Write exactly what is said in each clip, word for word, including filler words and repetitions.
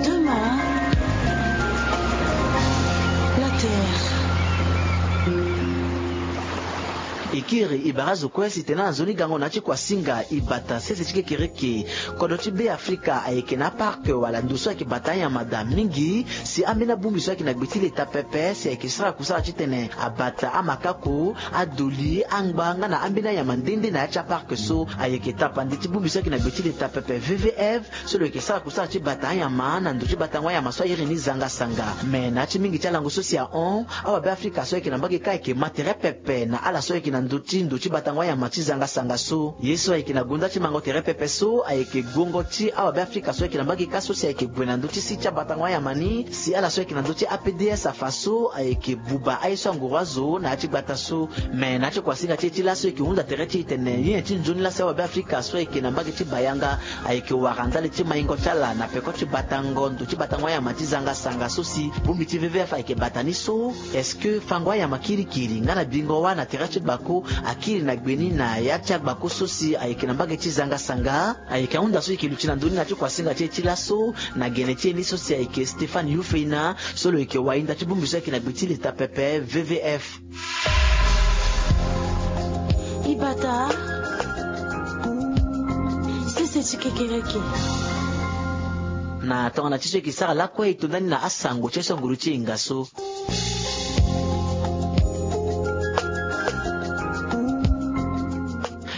Demain, la Terre. E kiri e bara azo kue si tene na nzoni gango na ya ti kuasinga e bata sese ti kekereke. Kodro ti Be Afrika ayeke na apark wala ndo so ayeke bata anyama daa mingi. Si ambeni abongbi so ayeke na gbe ti leta pepe si ayeke sara kusala titene abata amakako, adoli, angba nga na ambeni anyama nde nde na ya ti apark so. Ayeke tapande ti bongbi so ayeke na gbe ti leta pepe V V F so lo yeke sara kusala ti bata anyama na ndo ti batango anyama so a iri ni zanga sanga. Me na ya ti mingi ti alango so si ahon, awabe afrika so ayeke na mbage kâ ayeke ma tere pepe na ala so ayeke na ndö ti ndo ti batango anyama ti zanga sanga so. Ye so ayeke na gonda ti mango tere pepe so ayeke guongo ti awabe afrika so ayeke na mbage kâ so si ayeke gue na ndö ti si ti abatango anyama ni. Si ala so ayeke na ndö ti A P D S afa so ayeke buba aye so anguru azo na ya ti gbata so. Me na ya ti kuasinga ti e ti laso e yeke hunda tere ti e tene ye nyen ti nzoni laa si awabe afrika so ayeke na mbage ti bayanga ayeke wara ndali ti maingo ti ala na peko ti batango ndo ti batango anyama ti zanga sanga so si bongbi ti V V F ayeke bata ni so. Est-ce que fango anyama kirikiri nga na bingo wâ na tere ti gbako akiri na gbe ni na ya ti agbako so si ayeke na mbage ti zanga sanga? Ayeke ahunda so e yeke luti na ndö ni na ya ti kuasinga ti e ti laso na gene ti e ni so si ayeke Stéphane Youfeina so lo yeke wahinda ti bongbi so ayeke na gbe ti leta pepe V V F. E bata sese ti kekereke. Na tongana ti so e yeke sara lakue e to ndani na asango ti aye so anguru ti e hinga so.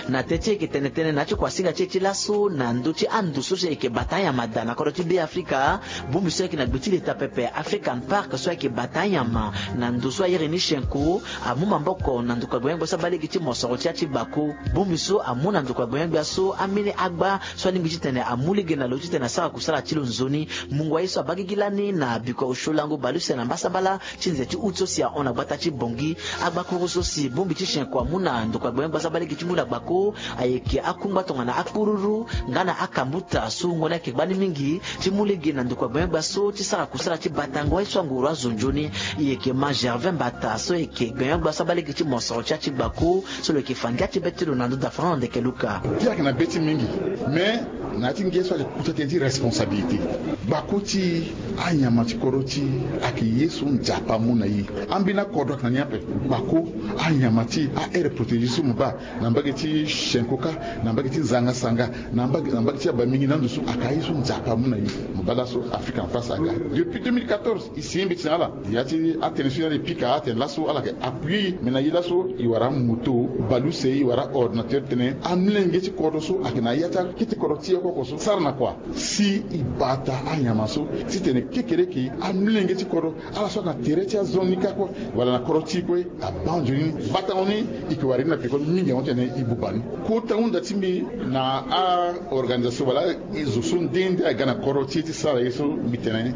Na teti e yeke tene tënë na ya ti kuasinga ti e ti laso na ndö ti ando so si e yeke bata anyama daa na kodro ti Be Afrika. Bongbi so ayeke na gbe ti leta pepe African Park so ayeke bata anyama na ndo so a iri ni Chenko amu maboko na ndokua gbenyo-gbia so abaa lege ti mosoro ti ya ti gbako. Bongbi so amu na ndokua gbenyo-gbia so ambeni agba so alingbi titene amu lege na lo titene asara kusala ti lo nzoni. Mungo aye so abaa gigi lani na bikua osio lango baleuse na mbasambala ti nze ti août so si ahon na gbata ti Bangui. Agbakuru so si bongbi ti Chenko amu na ndokua gbenyo-gbia so abaa lege ti ngu na gbako ayeke akungba tongana akpururu nga na akambuta so ngoni ayeke gbani mingi ti mu lege na ndokua gbenyo-gbia so ti sara kusala ti batango aye so anguru azo nzoni. E yeke ma Gervais Mbata so e yeke gbenyo-gbia so abaa lege ti mosoro ti ya ti gbako so lo yeke fa ngia ti be ti lo na ndö da Fernand Ndeke Luka. Ti ayeke na be ti mingi, mais na ya ti ngia so ayeke kuta tënë ti responsabilité. Gbako ti e, anyama ti kodro ti e ayeke ye so Nzapa amu na e. Ambeni akodro ayeke na ni ape. Gbako, anyama ti e, a-aire protégée so mo baa na mbage ti Chenko kâ, na mbage ti zanga sanga, na mbage, na mbage ti abamingi na ando so ayeke aye so Nzapa amu na e. Mo baa laso African Park aga. Depuis deux mille quatorze, e si mbeti na ala. Ya ti atënë so e na ala e pika atene laso ala yeke appuyer e. Me na e laso e wara amoto, baleuse, e wara aordinateur titene amolenge ti kodro so ayeke na ya ti akete kodro ti e oko oko so sara na kua. Si e bata anyama so titene kekereke amolenge ti kodro, ala so ayeke na tere ti azo ni kâ kue wala na kodro ti e kue, abaa nzoni ni. Batango ni e yeke wara ni na peko mingi yango titene e buba ni. Kota hunda ti mbi na a-organisation wala zo so nde nde aga na kodro ti e ti sara ye so, mbi tene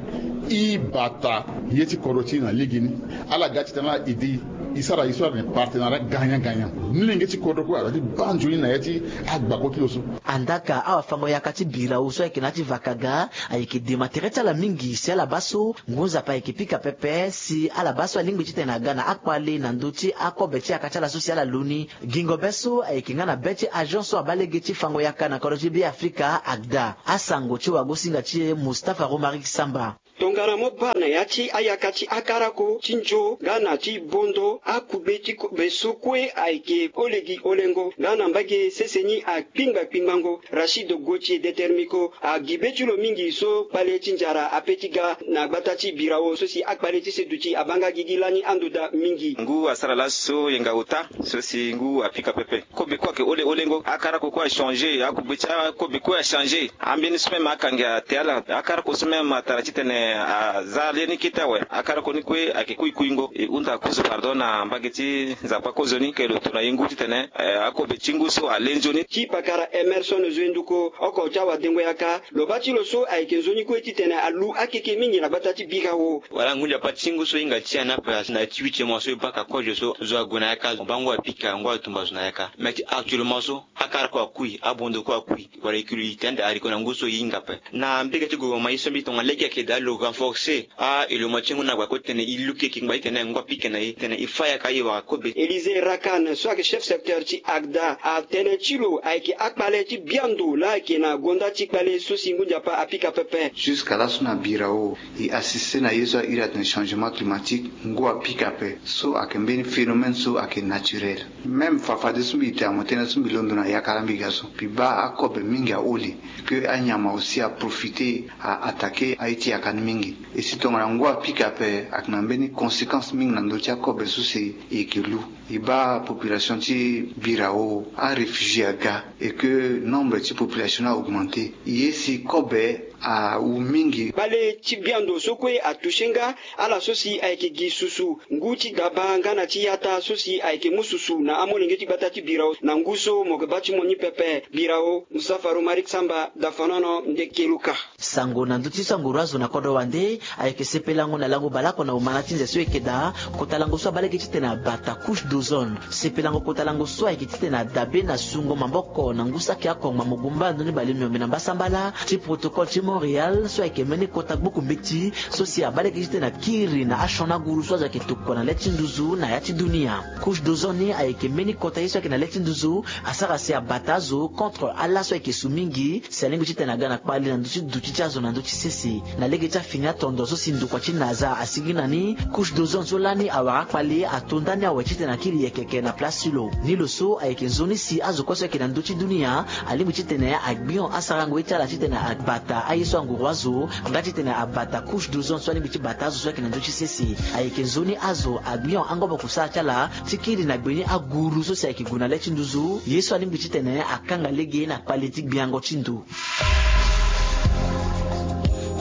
e bata ye ti kodro ti e na lege ni. Ala ga titene ala aidé e, e sara ye so ala tene partenariat gagnant gagnant. Molenge ti kodro kue ala ti baa nzoni na ya ti agbako ti lo so. Andaka awafango-yaka ti birao so ayeke na ya ti vakaga ayeke dema tere ti ala mingi si ala baa so ngu nzapa ayeke pika pepe si ala baa so alingbi titene aga na akpale na ndö ti akobe ti yaka ti ala so si ala lo ni. Gingo be so ayeke nga na be ti agent so abaa lege ti fango yaka na kodro ti Be Afrika, ACDA. Asango ti wagosinga ti e Mustapha Romaric Samba. Tongana mo baa na ya ti ayaka ti akarako ti nzo nga na ti bondo, akugbe ti kobe so kue ayeke olegi olengo nga na mbage sese ni akpingba kpingbango. Rachid Gauthier Determico, agi be ti lo mingi so kpale ti nzara ape ti ga na gbata ti birao so si akpale ti se duti abaa nga gigi lani ando daa mingi. Ngu asara laso yenga ota so si ngu apika pepe. Kobe kue ayeke ole olengo, akarako kue achanger, akugbe ti akobe kue achanger. Ambeni so même akangi ate ala, akarako so même atara titene aza le ni kete awe. Akarako ni kue ayeke kui kuingo. E hunda kozo pardon na mbage ti Nzapa kozoni ke lo to na e ngu titene, eh, akobe ti ngu so ale nzoni. Ti pakara Emerson Zoenduko, oko ti awadengo yaka, lo baa ti lo so ayeke nzoni kue titene alu akeke mingi na gbata ti birao. Wala ngu nzapa ti ngu so hinga ti ya ni ape na ya ti huitième mois so e baka kozo so zo ague na yaka, mo baa ngu apika, ngu atumba zo na yaka. Mais ti actuellement so, akara kue akui, abondo kue akui. Wala e kiri tene ande haricot na ngu so e hinga ape. Na mbege ti gouvernement ye so mbi tongana lege ayeke daa lo renforcer a-elo mo ti ngu na gbako titene e luke yeke ngba titene ngu apika na e titene e fa yaka e wara kobe. Élisée Rakane so ayeke chef secteur ti ACDA atene ti lo ayeke akpale ti biando laa ayeke na gonda ti kpale so si ngu nzapa apika pepe. Jusqu'à laso na birao e assister na ye so a iri atene changement climatique, ngu apika ape. So ayeke mbeni phénomène so ayeke naturel. Même fafadeso mbi tene mo tene so mbi londo na yaka laa mbi ga so mbi baa akobe mingi aholi. Que anyama aussi aprofiter a attaquer aye ti yaka ni mingi. E si tongana ngu apika ape ayeke na mbeni conséquence mingi na ndö ti akobe so si e yeke lu. E baa population ti birao aréfugié aga, et que nombre ti population ni a augmenter. E ye si kobe awu mingi. Kpale ti biando so kue atoucher nga ala so si ayeke gi susu ngu ti daba nga na ti yata so si ayeke mu susu na amolenge ti gbata ti birao na ngu so mo yeke baa ti mo ni pepe. Birao, Musafa Romaric Samba, Dafanono, Ndekeluka. Sango na ndö ti sango roi azo na kodro wande ayeke sepelango na lango baleoko na omana ti nze so e yeke daa. Kota lango so abaa lege titene abata couche d'ozone. Sepelango kota lango so ayeke titene adabe na sungo maboko na ngu saki akongba mogumba na ndö ni balemeombe na mbasambala ti protocole ti Montréal so ayeke mbeni kota gbuku mbeti so si abaa lege titene akiri na asioni aguru so azo ayeke tokua na le ti nduzu na ya ti dunia. Couche d'ozone ni ayeke mbeni kota ye so ayeke na le ti nduzu asara si abata azo contre ala so ayeke su mingi. Si alingbi titene aga na kpale na ndö ti duti ti azo na ndö ti sese na lege ti afini atondo so si ndokua ti naza asigi na ni. Couche d'ozone so lani awara akpale ato ndani awe titene akiri yeke yeke na place ti lo. Ni lo so ayeke nzoni si azo kue so ayeke na ndö ti dunia alingbi titene agbion asarango ye ti ala titene abata aye so anguru azo nga titene abata couche d'ozone so alingbi ti bata azo so ayeke na ndö ti sese. Ayeke nzoni azo agbion angobo kusala ti ala ti kiri na gbe ni aguru so si ayeke gue na le ti nduzu ye so alingbi titene akanga lege na kpale ti gbiango ti ndo.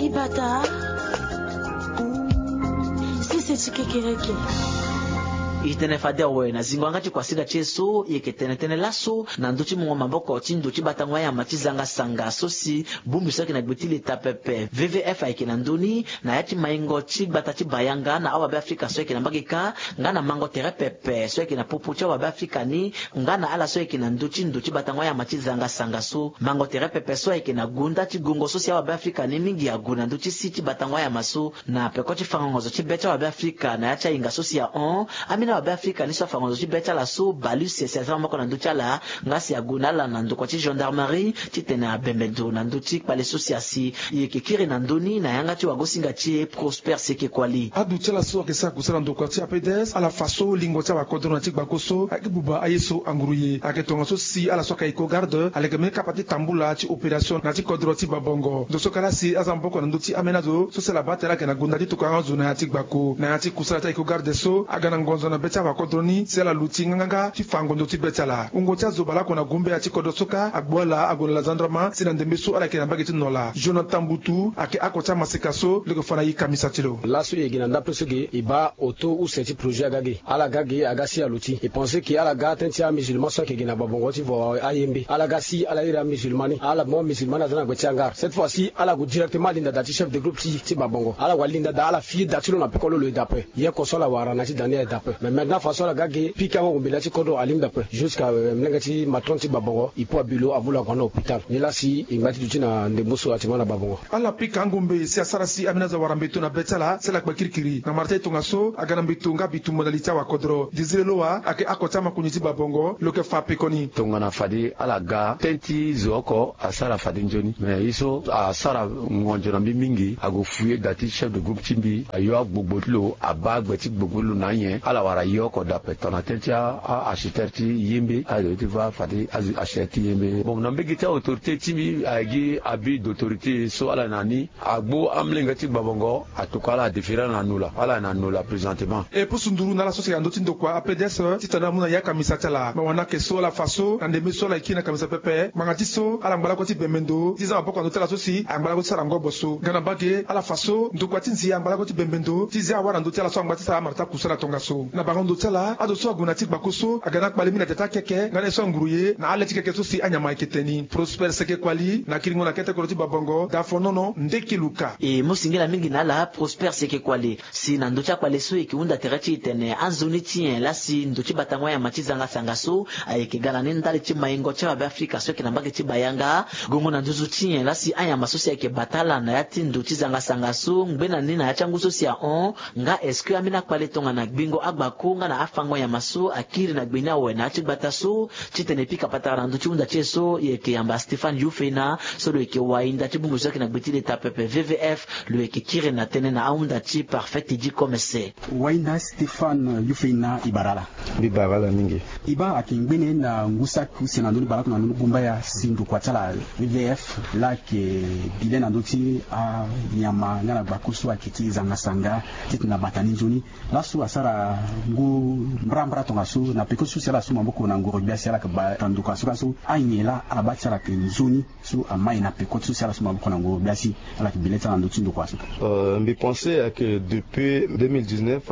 Ibata sese ti kekereke. E tene fade awe na zingo yanga ti kuasinga ti e so e yeke tene tënë laso na ndö ti mungo maboko ti ndo ti batango ayama ti zanga sanga so si bongbi so ayeke na gbe ti leta pepe V V F ayeke na ndö ni na ya ti maingo ti gbata ti bayanga na awabe afrika so ayeke na mbage kâ nga na mango tere pepe so ayeke na popo ti awabe afrika ni nga na ala so ayeke na ndö ti ndo ti batango ayama ti zanga sanga so. Mango tere pepe so ayeke na gonda ti gongo so si awabe afrika ni mingi ague na ndö ti si ti batango ayama so na peko ti fango ngonzo ti be ti awabe afrika na ya ti ahinga so si ahon. Ambeni awabe afrika ni so afango ngonzo ti be ti ala so baleuse si azia maboko na ndö ti ala nga si ague na ala na ndokua ti gendarmerie titene abembe ndo na ndö ti kpale so si asi. E yeke kiri na ndö ni na yanga ti wagosinga ti e Prosper Seke Kuali. Aduti ala so ayeke sara kusala na ndokua ti APDS ala fa so lingo ti awakodro na ti gbako so ayeke buba aye so anguru ye ayeke tongaso si ala so ayeke iko garde aleke mbeni kapa ti tambula ti opération na ya ti kodro ti babongo. Ndo so kala si aza maboko na ndö ti ambeni azo so si ala baa tere ayeke na gonda ti tokua azo na ya ti gbako na ya ti kusala ti ayeke iko garde so aga na ngonzo na be ti awakodro ni si ala luti nganganga ti fa ngondo ti be ti ala. Wungo ti azo baleoko na gumbe ya ti kodro so kâ agbu ala ague na la zandrama si na ndembe so ala yeke na mbage ti nola jonathan butu ayeke oko ti amaseka so lo yeke fa na e kamisa ti lo. Laso e yeke na ndapre so ge e baa oto use ti projet aga ge ala ga ge aga si aluti e pense ke ala ga tënë ti amusulman so ayeke gi na babongo ti vo ayembe ala ga si ala iri amusulman ni ala mo musulman ni aza na gbe ti hangar cette fois si ala gue directement alinda da ti chef de groupe ti ti babongo ala gue alinda da ala fie da ti lo na peko lo lo e da ape. Ye oko so ala wara na ya ti da ni aye da ape mais maintenant façon ala ga ge pika ngo gue mbela ti kodro alingbi ape jusqu'à mlenge ti matron ti babongo e po abi lo amu lo ague na hôpital. Nilaa si e ngba ti duti na ndembo so atima na babongo. Ala pika angombe si asara si ambeni azo awara mbeto na be ti ala si ala kpe kirikiri na mara ti aye tongaso aga na mbeto nga bitumba na li ti awakodro désiré loa ayeke oko ti amakonzi ti babongo lo yeke fa pekoni. Tongana fade ala ga tënë ti zo oko asara fade nzoni mais ye so asara ngonzo na mbi mingi ague fuye da ti chef de groupe ti mbi ayo agbogbo ti lo abaa gbe ti gbogbo ti lo na anyen ala wara ye oko dape tongana tënë ti a architecte ti yembe azo ye ti va fade azo architecte ti yembe bon na mbege ti aautorité ti mbi ayeke gi abus d'autorité so ala na ni agbu amlenge ti gbabongo atokua ala adéféré ala na nola ala na nola présentement. E pusu nduru na ala so si ayeke na ndö ti ndokua apds titene amu na ya kamisa ti ala me wani ayeke so ala fa so na ndembe so ala yeke kiri na kamisa pepe ngbanga ti so ala ngba lakue ti bembe ndo ti za maboko na ndö ti ala so si angba lakue ti sara ngobo so nga na mbage ala fa so ndokua ti nzi angba lakue ti bembe ndo ti zia awara na ndö ti ala so angba ti sara amara ti akusala tongaso. Kpakando ti ala, azo so ague na ti gbako so aga na akpale mingi na tere ti akeke nga na ye so anguru ye na ale ti keke so si anyama ayeke tene ni. Prosper Seke Kuali na kiringo na kete kodro ti Babongo, Dafonono, Ndeke Luka. E mu singila mingi na ala Prosper Seke Kuali si na ndö ti akpale so e yeke hunda tere ti e tene anzoni ti nyen laa si ndo ti batango anyama ti zangasanga so ayeke ga na ni ndali ti maingo ti awabe Afrika so ayeke na mbage ti Bayanga. Gongo na nduzu ti nyen laa si anyama so si ayeke bata ala na ya ti ndo ti zangasanga so ngbene ni na ya ti angu so si ahon, nga est-ce que ambeni akpale tongana gbingo agbako nga na afango nyama so akiri na gbe ni awe na ya ti gbata so? Titene e pika patara na ndö ti hunda ti e so, e yeke yamba Stéphane Yufeina so lo yeke wahinda ti bongbi so ayeke na gbe ti leta pepe V V F, lo yeke kiri na tënë na ahunda ti Parfait Teddy Comese. Wahinda Stéphane Yufeina, e bara ala. Mbi bara ala mingi. E baa, ayeke ngbene na ngu saki use na ndö ni baleoko na ndö ni gumbaya si ndokua ti ala V V F laa ayeke bi le na ndö ti anyama nga na gbako so ayeke ti zangasanga titene abata ni nzoni. Laso asara ngu mbrambra tongaso na peko ti so si ala su maboko na ngoro gbia si ala yeke bata ndokua so laso. Anyen laa ala baa ti ala yeke nzoni so amai na peko ti so si ala su maboko na ngoro gbia si ala yeke bi le ti ala na ndö ti ndokua so? Euh, mbi pense ayeke depuis deux mille dix-neuf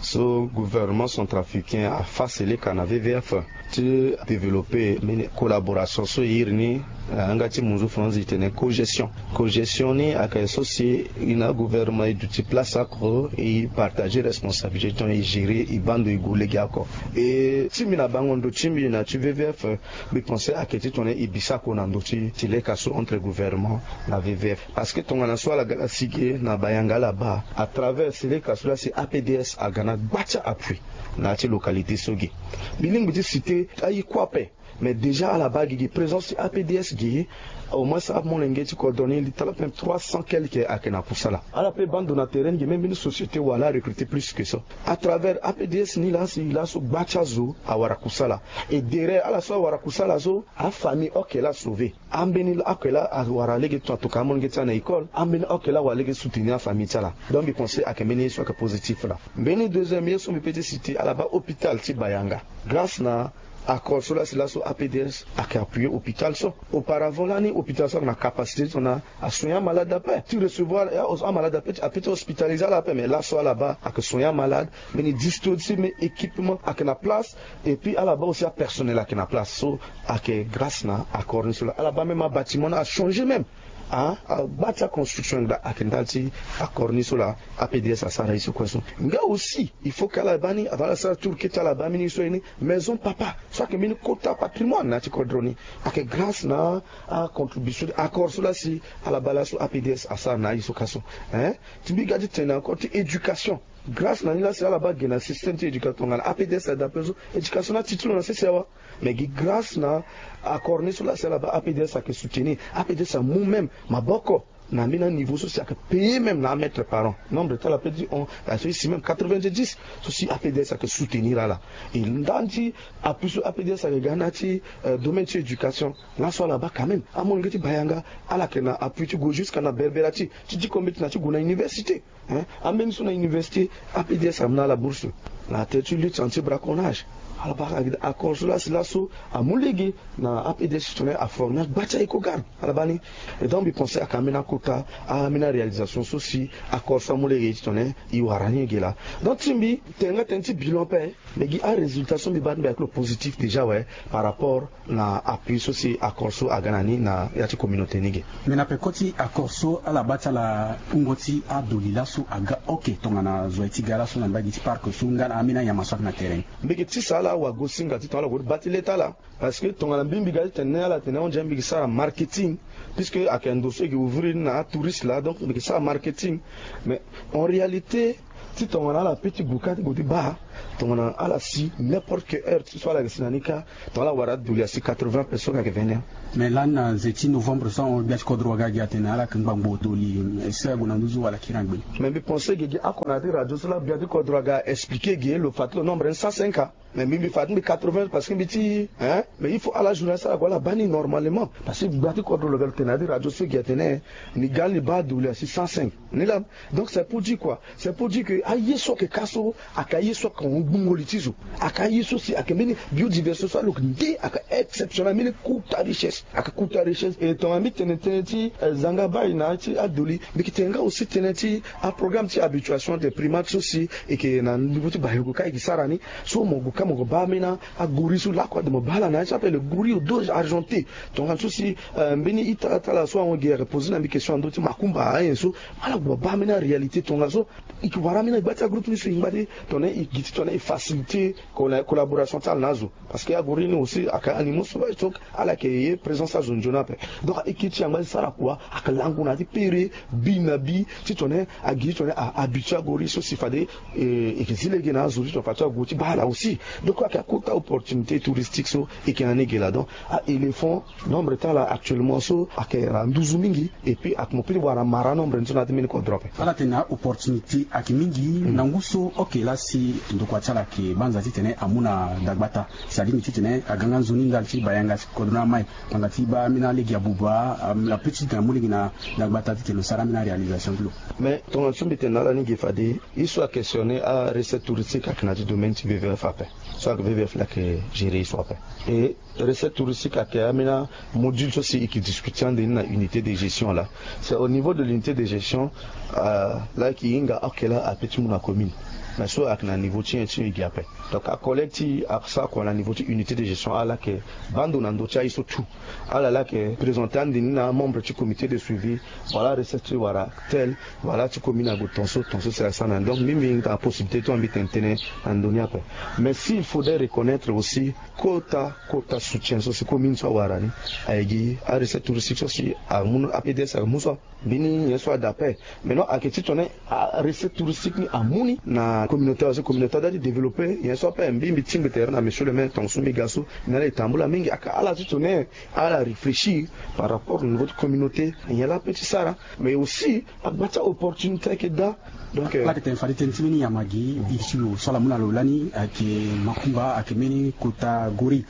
so gouvernement centrafricain afa seleka na V V F ti développer mbeni collaboration so e iri ni na yanga ti munzu franzi e tene cogestion. Cogestion ni ayeke so si e na gouvernement e duti place oko, e partager responsabilité ti tongana e gérer e baa ndo e gue lege oko. E ti mbi na bango ndo ti mbi na ti V V F, mbi pense ayeke ti tongana e bi sako na ndö ti, ti leka so entre gouvernement na V V F. Parce que tongana so ala ga na si ge na Bayanga ala baa, à travers seleka so laa si A P D S aga na gba ti appui na ya ti localité so ge. Mbi lingbi ti citer aye kue ape. Mais déjà ala baa gi gi présence ti A P D S gi, au moins amolenge ti kodro ni li tala pe trois cents quelque ayeke na kusala. Ala pe baa ndo na terrain ni gi, même mbeni société wala a recruter plus que ça. À travers A P D S ni laa si laso gba ti azo awara kusala. Et derrière ala so awara kusala so, afamille oko laa asauver. Ambeni oko laa awara lege ti tongana atokua amolenge ti ala na école. Ambeni oko laa awara lege ti soutenir afamille ti ala. Donc mbi pense ayeke mbeni ye so ayeke positif laa. Mbeni deuxième ye so mbi pe ti citer, ala baa hôpital ti Bayanga. Grâce na accord so laa si laso A P D S ayeke appuyer hôpital so. Auparavant lani hôpital so ayeke na capacité ti tongana asoigner amalade ape, ti recevoir amalade ape, ape ti hospitaliser ala ape. Mais laso ala baa ayeke soigner amalade, mbeni dispositif, mbeni équipement ayeke na place. Et puis ala baa aussi apersonnel ayeke na place. So ayeke grâce na accord ni so laa ala baa même abâtiment ni achanger même. Ah, ah, gba ti aconstruction ayeke daa ayeke ndali ti accord ni so laa A P D S asara ye so kue so. Nga aussi il faut que ala baa ni, avant ala sara tour kete, ala baa mbeni ye so aye ni maison papa so ayeke mbeni kota patrimoine na ya ti kodro ni. Ayeke grâce na acontribution ti accord so laa si ala baa laso A P D S asara na aye so kâ so. Hein? Ti mbi ga ti tene encore ti éducation. Grâce na ni laa si ala baa ge na système ti éducation tongana A P D S adapté so, éducation ni ati ti lo na sese awa. Mais gi grâce na accord ni so laa si ala baa A P D S ayeke soutenir, A P D S amu même maboko na mbeni aniveau so si ayeke payer même na amètre par an. Nombre ti ala pe ti hon, ayeke so e si même quatre-vingt-dix so si A P D S ayeke soutenir ala. E ndani ti appui so A P D S ayeke ga na ya ti, euh, domaine ti éducation. Laso ala baa quand même amolenge ti Bayanga ala yeke na appui ti gue jusqu'à na Berbera ti, ti diko mbeti na ti gue na université. Hein? Ambeni so na université, A P D S amu na ala bourse na tere ti lutte anti braconnage. Ala baa accord so laa si laso amu lege na A P D S ti tongana aformer agba ti aye kogarde. Ala baa ni. Et donc mbi pense ayeke ambeni akota, ambeni aréalisation so si accord so amu lege ti tongana e wara ni ge laa. Donc ti mbi, tene nga tënë ti bilan ape. Mais gi arésultat so mbi baa ti mbi ayeke lo positif déjà, ouais, par rapport na appui so si accord so aga na ni na ya ti communauté ni ge. Mais na peko ti accord so ala baa ti ala wungo ti adoli laso aga oke tongana zo aye ti ga laso na mbage ti parc so nga na ambeni anyama so ayeke na terrain. Mbi yeke tisa ala wagosinga ti tongana ala gue ti baa ti le ti ala. Parce que tongana mbi mbi ga ti tene ala tene ahon ndia mbi yeke sara marketing. Puisque ayeke ndo so e yeke ouvrir ni na atouriste laa, donc mbi yeke sara marketing. Mais en réalité ti tongana ala pe ti gue kâ ti gue ti baa, tongana ala si n'importe quelle heure ti so ala yeke si na ni kâ, tongana ala wara adoli asi quatre-vingts personnes ayeke veni. Mais lani na nze ti novembre so ahon gbia ti kodro aga gi atene ala yeke ngbangbo doli, est-ce que ague na nduzu wala akiri na gbe? Mais mbi pense ge gi oko na ya ti radio so laa gbia ti kodro aga expliquer ge lo fa ti lo nombre ni cent cinq. Mais mbi mbi fa ti mbi quatre-vingts parce que mbi ti, hein, mais il faut ala journaliste ala gue ala baa ni normalement. Parce que gbia ti kodro lo ga lo tene na ya ti radio so gi atene ni ga ni baa adoli asi cent cinq. Ni laa. Donc c'est pour dire quoi? C'est pour dire Aye so ayeke ka so ayeke aye so ayeke ahon gbungo li ti zo. Ayeke aye so si ayeke mbeni biodiversité so aloke nde ayeke exceptionnel, mbeni kota richesse, ayeke kota richesse. E tongana mbi tene tënë ti zanga baa e na ya ti adoli, mbi yeke tene nga aussi tënë ti aprogramme ti habituation des primates so si e yeke na niveau ti bayogo ka e yeke sara ni. So mo gue ka mo gue baa ambeni agori so lakue ade mo baa ala na ya ti ape le gori au dos argenté. Tongana so si mbeni ita ti ala so ahon gi ayeke poser na mbi question na ndö ti makumba ayen so, ala gue baa ambeni aréalité tongaso. E ke wara ambeni agba ti agroupe ni so e ngba ti tongana e gi ti tongana e faciliter collaboration ti ala na azo. Parce que agori ni aussi ayeke animaux sauvages, donc ala yeke ye présence ti azo nzoni ape. Donc e ke ti yangba ti sara kua, ayeke lango na ya ti pere bi na bi ti tongana e gi ti tongana e habituer agori so si fade e ke zi lege na azo ti tongana fade so ague ti baa ala aussi. Donc ayeke akota opportunité touristique so e ke na ni ge laa. Donc a-éléphant, nombre ti ala actuellement so ayeke na nduzu mingi. Et puis ayeke mo peut ti wara mara nombre ni so na ya ti mbeni kodro ape. Ala tene na opportunité ayeke mingi na ngu so oke laa si ndokua ti ala ayeke banza titene amu na dagbata. C'est-à-dire titene aga nga nzoni ndali ti bayanga si kodro ni amai. Ngbanga ti baa ambeni alege abuba, apeut ti titene amu lege na dagbata titene lo sara ambeni aréalisation ti lo. Mais tongana so mbi tene na ala ni ge fade, ye so ayeke questionner arecette touristique ayeke na ya ti domaine ti V V F ape. So ayeke V V F laa ayeke gérer ye so ape. Et recette touristique ayeke ambeni amodule so si e ke discuter ande ni na unité de gestion laa. C'est au niveau de l'unité de gestion laa e ke hinga oke laa apeut ti mu na commune. Mais so ayeke na niveau ti nyen ti e gi ape. Donc acollègue ti e asara kua na niveau ti unité de gestion, ala yeke baa ndo na ndö ti aye so tout. Ala laa ayeke présenter ande ni na amembre ti comité de suivi. Voilà recette ti wara tel, voilà ti commune ague tonso tonso si asara na ni. Donc mbi mbi na possibilité ti wara mbi tene tënë na ndö ni ape. Mais si il faudrait reconnaître aussi kota kota soutien so si commune so awara ni aye gi arecette touristique so si amu, A P D S ayeke mu so. Mbeni nyen so ade ape. Maintenant ayeke ti tongana arecette touristique ni amu ni na communauté, parce que communauté adoit ti développer nyen so ape. Mbi mbi tingbi tere na monsieur le maire tongaso mbi ga so, ni ala e tambula mingi. Ayeke ala ti tongana ala réfléchir par rapport au niveau ti communauté, nyen laa apeut ti sara. Mais aussi agba ti aopportunité ayeke daa. Donc ala yeke tene fade tënë ti mbeni nyama gi iri ti lo so ala mu na lo lani ayeke makumba, ayeke mbeni kota gori.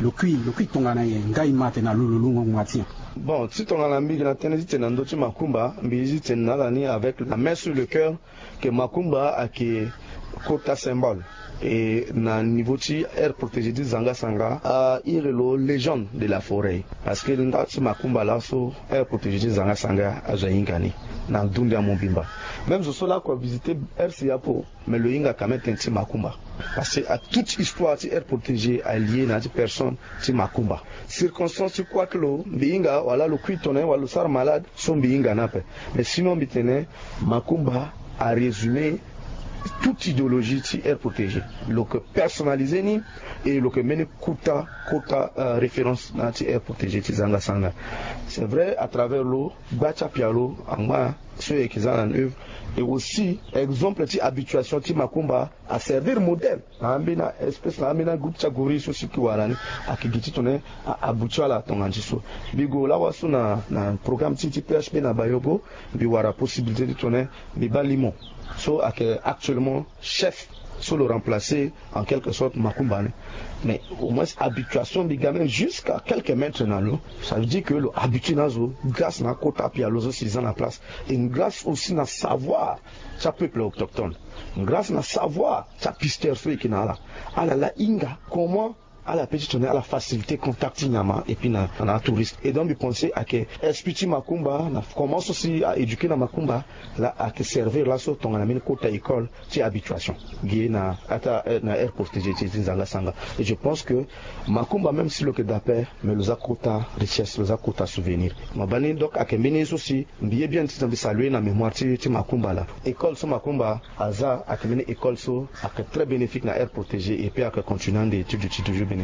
Lo kui lo kui tongana nyen? Nga e ma atene na lo lo lo ngongo nga ti nyen? Bon, ti tongana mbi yeke na tënë ti tene na ndö ti makumba, mbi zi tene na ala ni avec la main sur le cœur, que makumba ayeke kota symbole. Et na niveau ti aire protégée ti zanga sanga, a iri lo légende de la forêt, parce que nda ti makumba laso aire protégée ti zanga sanga azo ahinga ni na dunia mobimba. Même zo so lakue avisiter aire si apo, mais lo hinga quand même tënë ti makumba. Parce que toute histoire ti aire protégée aliée na ya ti personne ti makumba. Circonstance ti kue ti lo mbi hinga wala lo kui tongana wala lo sara malade, so mbi hinga ni ape. Mais sinon mbi tene makumba arésumer toute idéologie ti aire protégée. Lo yeke personnaliser ni. Et lo yeke mbeni kota kota référence na ya ti aire protégée ti zanga sanga. C'est vrai, à travers lo gba ti apialo angba so e yeke za na neuve. Et aussi exemple ti habituation ti makumba aservir modèle na ambeni espèce, na ambeni agroupe ti agori so si e ke wara ni. Ayeke gi ti tongana ahabituer ala tongana ti so. Mbi gue lawa so na na programme ti ti P H P na bayogo, mbi wara possibilité ti tongana mbi baa limo so ayeke actuellement chef so lo remplacer en quelque sorte makumba ni. Mais au moins habituation mbi ga même jusqu'à quelques mètres na lo. Ça veut dire que lo habituer na azo grâce na akota apialo so si e za na place. Et grâce aussi na savoir ti apeuple autochtone, grâce na savoir ti apisteur so e yeke na ala. Ala laa hinga comment ala peut ti tongana ala faciliter contact ti nyama et puis na na atouriste. Et donc mbi pense ayeke esprit ti makumba na comment so si a éduquer na makumba laa ayeke servir laso tongana mbeni kota école ti habituation gi na ata na aire protégée ti ti zanga sanga. Et je pense que makumba même si lo yeke daa ape, mais lo za kota richesse, lo za kota souvenir. Mo baa ni donc ayeke mbeni ye so si mbi ye bien ti tongana mbi saluer na mémoire ti ti makumba laa. École so makumba aza ayeke mbeni école so ayeke très bénéfique na aire protégée et puis ayeke continuer ande étude ti toujours bénéfique.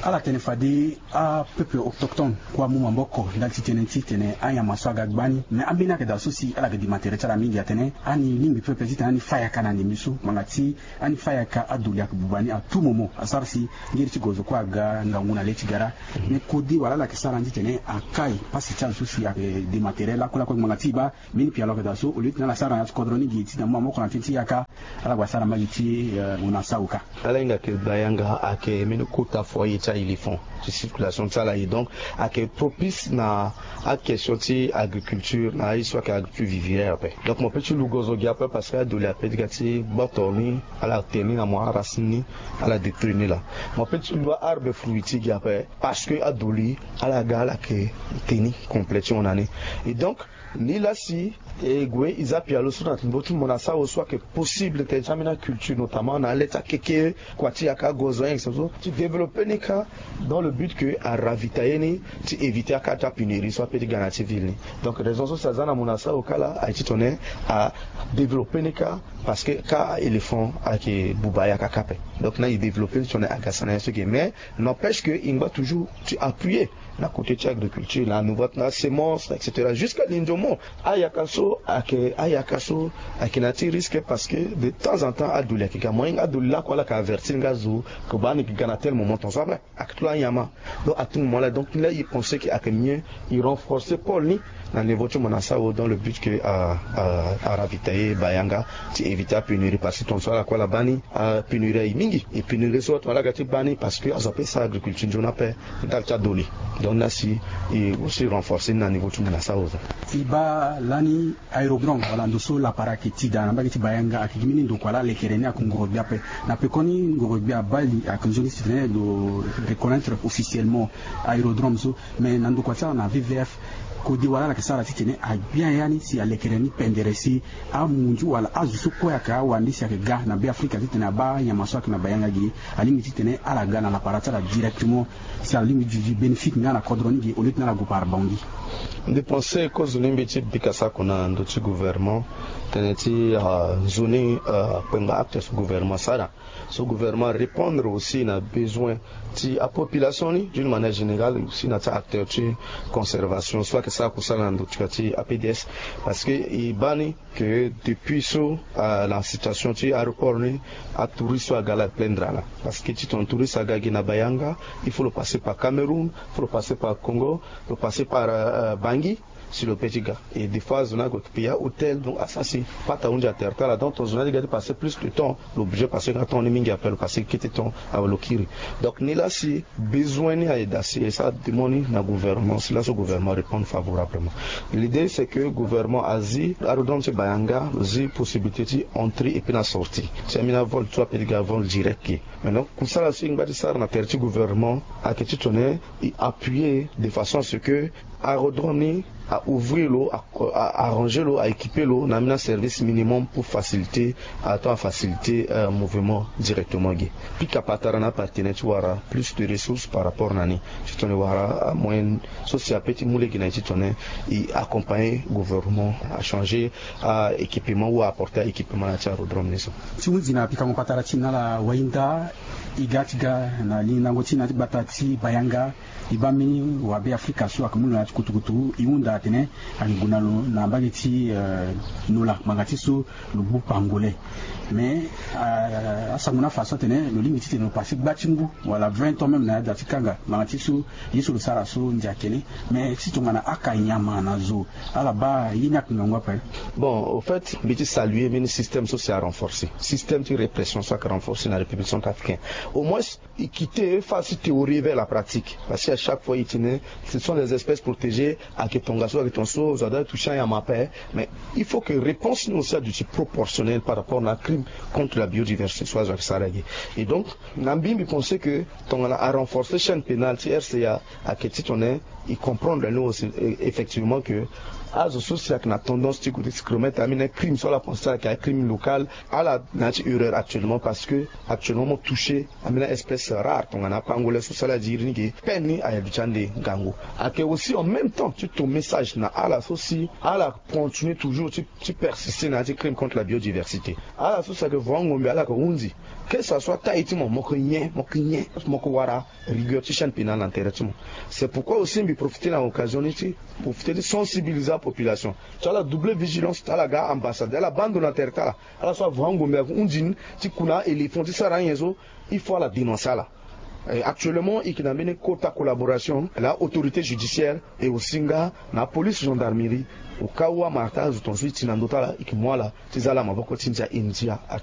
Ala tene fade apeuple autochtone kue amu maboko ndali ti tënë ti tene anyama so aga gba ni. Mais ambeni ayeke daa so si ala yeke dima tere ti ala mingi atene ani lingbi pepe titene ani fâ yaka na ndembe so ngbanga ti ani fâ yaka adoli ayeke buba ni à tout moment asara si ngeri ti gozo kue aga ngangu na le ti gara. Mais kode wala ala yeke sara ni titene akai pasi ti azo so si ayeke dima tere lakue lakue ngbanga ti e baa mbeni pialo ayeke daa so au lieu titene ala sara na ya ti kodro ni gi titene amu maboko na tënë ti yaka, ala gue asara mbage ti hon na saoka. Ala hinga yeke daa yanga ayeke mbeni kota Foyer ti a-éléphant ti circulation ti ala ye. Donc ayeke propice na a-question ti agriculture na aye so ayeke agriculture vivrière ape. Donc mo pe ti lugo zo gi ape parce que adoli ape ti ga ti gboto ni, ala tene ni na mo, aracine ni ala détruire ni laa. Mo pe ti lu a-arbre fruit ti gi ape parce que adoli ala ga ala yeke tene ni complet ti hon na ni. Et donc ni laa si e gue e za pialo so na niveau ti mo na sara so ayeke possible tene ti ambeni a-culture, notamment na ale ti akeke kua ti yaka gozo, hein, so ti développer ni kâ dans le but que a ravitailler ni ti éviter akâ ti apénurie so ape ti ga na ya ti ville ni. Donc raison so si aza na mo na sara kâ laa aye ti tene a développer ni kâ, parce que kâ a-éléphant ayeke buba yaka kâ ape. Donc na e développer ni ti tene aga sara na ye so ge, mais n'empêche que e ngba toujours ti appuyer na côté ti agriculture, na niveau ti na semence, et cetera, jusqu'à lindomo. Ayaka so ayeke ayaka so ayeke na ya ti risque, parce que de temps en temps adoli ayeke ga moyen, adoli lako ala yeke avertir nga zo ke baa ni yeke ga na tel moment, ton so ape ayeke ti lo anyama. Donc à tout moment là, donc ni laa e pense que ayeke mieux e renforcer pôle ni na niveau ti mo na sara dans le but que a a a ravitailler bayanga ti éviter apénurie, parce que ton so ala kue ala baa ni apénurie aye mingi. Et pénurie so ton ala ga ti baa ni parce que azo ape sara agriculture nzoni ape ndali ti adoli. Donc ni laa si e aussi renforcer ni na niveau ti mo na sara. E baa lani aérodrome wala ndo so lapara ayeke ti daa na mbage ti bayanga ayeke gi mbeni ndo kua laa lekere ni ayeke ngoro gbia ape. Na pekoni ngoro gbia abaa li ayeke nzoni ti tene lo reconnaître officiellement aérodrome so. Mais na ndokua ti ala na V V F, kode wala ala yeke sara ti tene agbia ya ni si alekere ni pendere si amunzu wala azo so kue ayeke awande si ayeke ga na Be Afrika ti tene abaa nyama so ayeke na bayanga ge, alingbi ti tene ala ga na lapara ti ala directement, si ala lingbi duti bénéfique nga na kodro ni ge au lieu ti tene ala gue par Bangui. Mbi pense kozo ni mbi ti bika sako na ndö ti gouvernement tene ti ah, nzoni ah, kpengba acte so gouvernement asara. So gouvernement arépondre aussi na besoin ti apopulation ni d'une manière générale, aussi na ti acteur ti conservation so ayeke sara kusala na ndö ti ka ti A P D S. Parce que e baa ni que depuis so ah, na situation ti aéroport ni, atouriste so aga la plaindre ala. Parce que ti ton touriste aga gi na bayanga, il faut lo passer par Cameroun, il faut lo passer par Congo, lo passer par ah, Bangui. Si lo pe ti ga et des fois zo ni ague yeke payer ahôtel, donc asara si pata ahunzi atere ti ala, donc ton zo ni adi ga ti passer plus de temps, lo obligé passer nga temps ni mingi ape, lo passer kete temps awe lo kiri. Donc ni laa si besoin ni aye daa si e sara demande ni na gouvernement, si laso gouvernement arépondre favorablement. L'idée c'est que gouvernement azi aérodrome ti bayanga, lo zi possibilité ti entrée et puis na sortie ti ambeni avol ti ape ti ga avol direct ge. Maintenant kusala so e ngba ti sara na tere ti gouvernement ayeke ti tene e appuyer de façon à ce que aérodrome ni a ouvrir lo, a arranger lo, a équiper lo na ambeni aservice minimum pour faciliter, ato a faciliter mouvement directement ge. Pika patara na apartenaire ti wara plus de ressources par rapport na ni ti tene wara amoyen so si ape ti mu lege na e ti tene e accompagner gouvernement a changer a équipement ou a apporter a équipement na ya ti aérodrome ni so. Ti hunzi na pikango patara ti na ala wahinda e ga ti ga na lindango ti na ya ti gbata ti bayanga. E baa mbeni wabe afrika so ayeke mu lo na ya ti kutukutu e hunda atene ayeke gue na lo na mbage ti nola ngbanga ti so lo gbu pangolais. Mais asango ni afa so atene lo lingbi titene lo pase gba ti ngu wala vingt ans même na ya da ti kanga ngbanga ti so ye so lo sara so ndia kene. Mais ti tongana aka nyama na zo ala baa ye ni ayeke ngangu ape. Bon au fait mbi ti saluer mbeni système so si arenforcer système ti répression so ayeke renforcer na république centrafricaine. Au moins e quite face ti théorie vers la pratique. Parce que à chaque fois e tene ce sont des espèces protégées, ayeke tongaso ayeke tongaso zo ada toucher anyama ape. Mais il faut que réponse ni aussi aduti proportionnelle par rapport na crime contre la biodiversité so azo ayeke sara gi. Et donc na mbi mbi pense que tongana arenforcer chaîne pénale ti RCA ayeke ti tongana e comprendre ni aussi effectivement que azo so si ayeke na tendance ti gue ti remettre ambeni crime so ala pense ti ala ayeke acrime local, ala na ya ti erreur actuellement parce que actuellement mo toucher ambeni aespèce rare tongana apangolais so si ala diri ni ge peine ni ayeke duti ande ngangu. Ayeke aussi en même temps ti to message na ala so si ala continuer toujours ti ti persister na ya ti crime contre la biodiversité. Ala so si ayeke vo angombe ala yeke hunzi. Quel que ce soit taille ti mo mo yeke nyen mo yeke nyen mo yeke wara rigueur ti chaîne pénale na tere ti mo. C'est pourquoi aussi mbi profiter na occasion ni ti profiter ti sensibiliser apopulation ti ala doubler vigilance ti ala ga ambassade ala baa ndo na tere ti ala. Ala so avo angombe avo hunzi ni ti ku na a-éléphant ti sara anyen so il faut ala dénoncer ala. Actuellement e yeke na mbeni kota collaboration na autorité judiciaire et aussi nga na police gendarmerie. Au cas où amara ti azo tongaso e ti na ndö ti ala e yeke mu ala ti za ala maboko ti ndia e ndia.